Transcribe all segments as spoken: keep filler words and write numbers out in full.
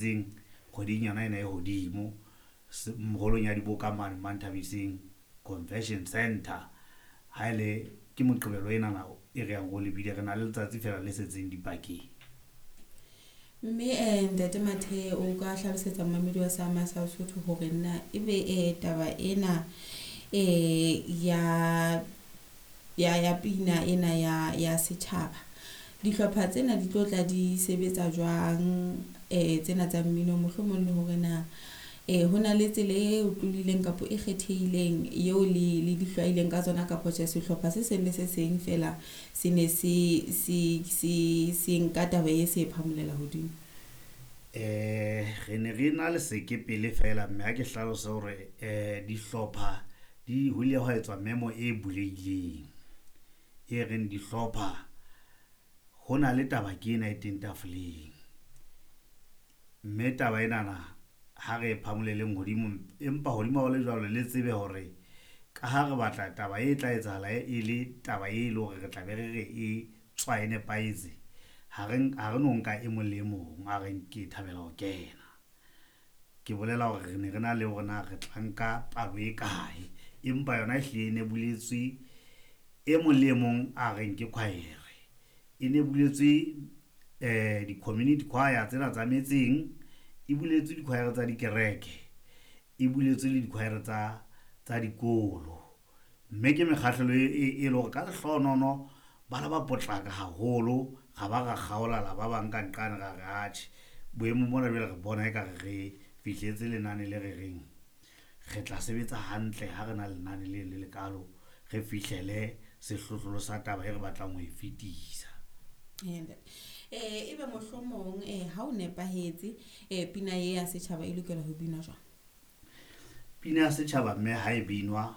Kgweding yona ena e hodimo holong ya diboka mane Manthabiseng Convention Center. Ha ele ke Moqebelo enana e re yang ro lebile, re na le letsatsi fela le setseng dipakeng. Mme eh Ntate Mathe, o ka hlalosetsa momamedi wa Sama sa Sotho hore na ebe eh taba ena eh ya ya ya pina ena ya ya setjhaba, dihlopha tsena di tlo tla di sebetsa jwang eh tsena tsa mmino, mohlomong le hore na eh hona le tsela e otlolohileng kapa e kgethehileng eo le le di hlwaileng ka tsona, kapa tje sehlopha se seng le se seng fela se ne se se se se nka taba e se phamolela hodimo? Eh re ne re na le sekepele fela, mme ha ke hlalose hore eh dihlopha di ho ile hwa etswa memo e bulehileng, e reng dihlopha ho na le taba ke ena e teng tafoleng. Mme taba enana ha re phamoleleng hodimo, empa hodima ho le jwalo, le tsebe hore ka ha re batla taba e tla etsahala e le taba e leng hore re tla be re re e tswa e nepahetse. Ha re ha re no nka e mong le e mong a reng ke thabela ho kena. Ke bolela hore re ne re na le hore na re tla nka palo e kae, empa yona e hlile e ne buletswe e mong le e mong a reng ke choir. E ne buletswe eh di-community choir tsena tsa metseng, e buletswe di-choir tsa dikereke, e buletswe le di-choir tsa tsa dikolo. Mme ke mekgahlelo e e le hore ka lehlohonolo ba la ba potlaka haholo, ra ba ra kgaola la ba bang ka nqane ra re atjhe boemong bona jwale re bona ekare re fihletse lenane le re reng re tla sebetsa hantle ha re na lenane le le lekalo, re fihlele sehlohlolo sa taba e re batlang ho e fetisa. Eh ebe mohlomong eh ha o nepahetse eh pina e ya setjhaba e lokela ho binwa jwang? Pina ya setjhaba mme ha e binwa,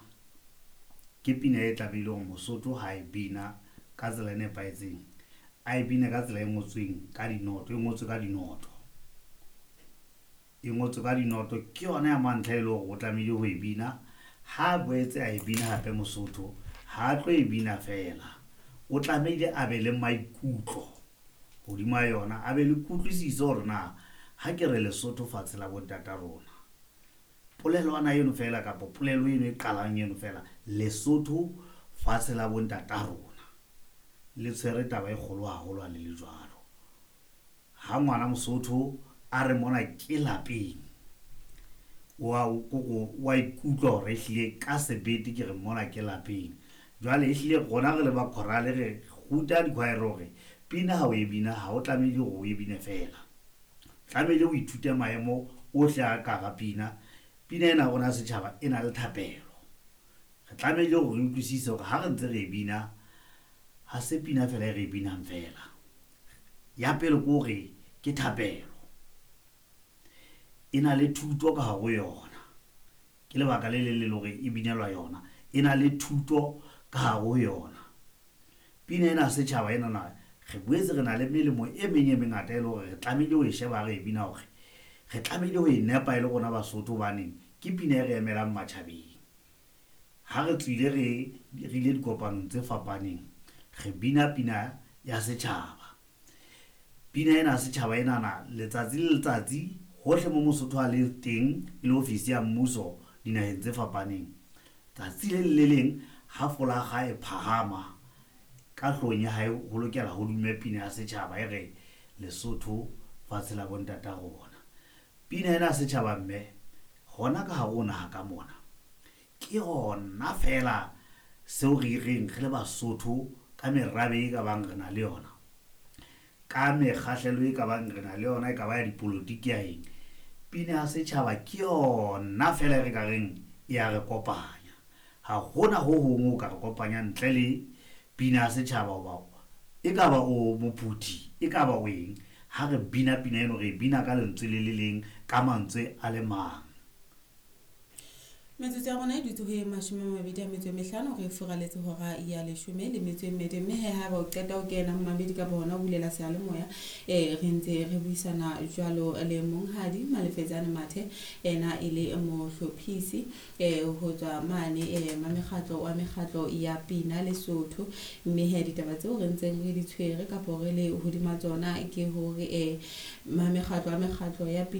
ke pina e tlamehile hore Mosotho ha e bina ka tsela e nepahetseng, a e bine ka tsela e ngotsweng ka dinoto, e ngotswe ka dinoto. E ngotswe ka dinoto ke yona ya mantlha e leng hore o tlamehile ho e bina. Ha boetse a e bina hape Mosotho, ha tlo e bina fela, o tlamehile a be le maikutlo hodima yona, a be le kutlwisiso hore na ha ke re Lesotho fatshe la bontata rona, polelwana eno fela kapa polelo eno e qalang eno fela, Lesotho fatshe la bontata rona, le tshwere taba e kgolo haholo ha le le jwalo. Ha ngwana Mosotho a re mona ke lapeng, wa koko wa ikutlwa hore ehlile ka sebete ke re mona ke lapeng. Jwale ehlile rona re le ba chorale re ruta di-choir hore pina ha o e bina ha o tlamehile hore o e bine fela, tlamehile o ithute maemo ohle a ka hara pina. Pina ena ya rona ya setjhaba e na le thapelo, re tlamehile hore re utlwisise hore ha re ntse re e bina ha se pina fela e re e binang fela. Ya pele ke hore ke thapelo, e na le thuto ka hare ho yona, ke lebaka le leng le leng hore e binelwa yona, e na le thuto ka hare ho yona. Pina ena ya setjhaba enana re boetse re na le melemo e meng e mengata e leng hore re tlamehile ho e sheba ha re e bina, hore re tlamehile ho e nepa e le rona Basotho, hobaneng ke pina e re emelang matjhabeng. Ha re tswile re re ile dikopanong tse fapaneng, re bina pina ya setjhaba. Pina ena ya setjhaba enana letsatsi le letsatsi hohle mo Mosotho a le teng, e le ofisi ya mmuso dinaheng tse fapaneng, tsatsi le leng le leng ha folakga e phahama ka hloohong ya hae, ho lokela ho dume pina ya setjhaba e re Lesotho fatshe la bontata rona. Pina ena ya setjhaba mme hona ka hare ho naha ka mona, ke yona fela seo re reng re le Basotho ka merabe e ka bang re na le yona, ka mekgahlelo e ka bang re na le yona, e ka ba ya dipolotiki ya eng, pina ya setjhaba ke yona fela e re ka reng e ya re kopanya. Ha hona ho hong ho ka re kopanya ntle le pina ya setjhaba, hoba e ka ba o mophuthi, e ka ba o eng, ha re bina pina eno re bina ka lentswe le le leng, ka mantswe a le mang. Metsotso ya rona e dutse ho e mashome a mabedi a metso e mehlano, re furaletse hora ya leshome le metso e mmedi. Mme he haeba o qeta ho kena momamedi kapa hona ho bulela seyalemoya, eh re ntse re buisana jwalo le monghadi Malefetsane Mathe, ena e le mohlophisi eh ho tswa mane eh mamekgatlo wa mekgatlo ya pina Lesotho. Mme he ditaba tseo re ntseng re di tshwere kapa re le hodima tsona ke hore eh mamekgatlo wa mekgatlo ya pina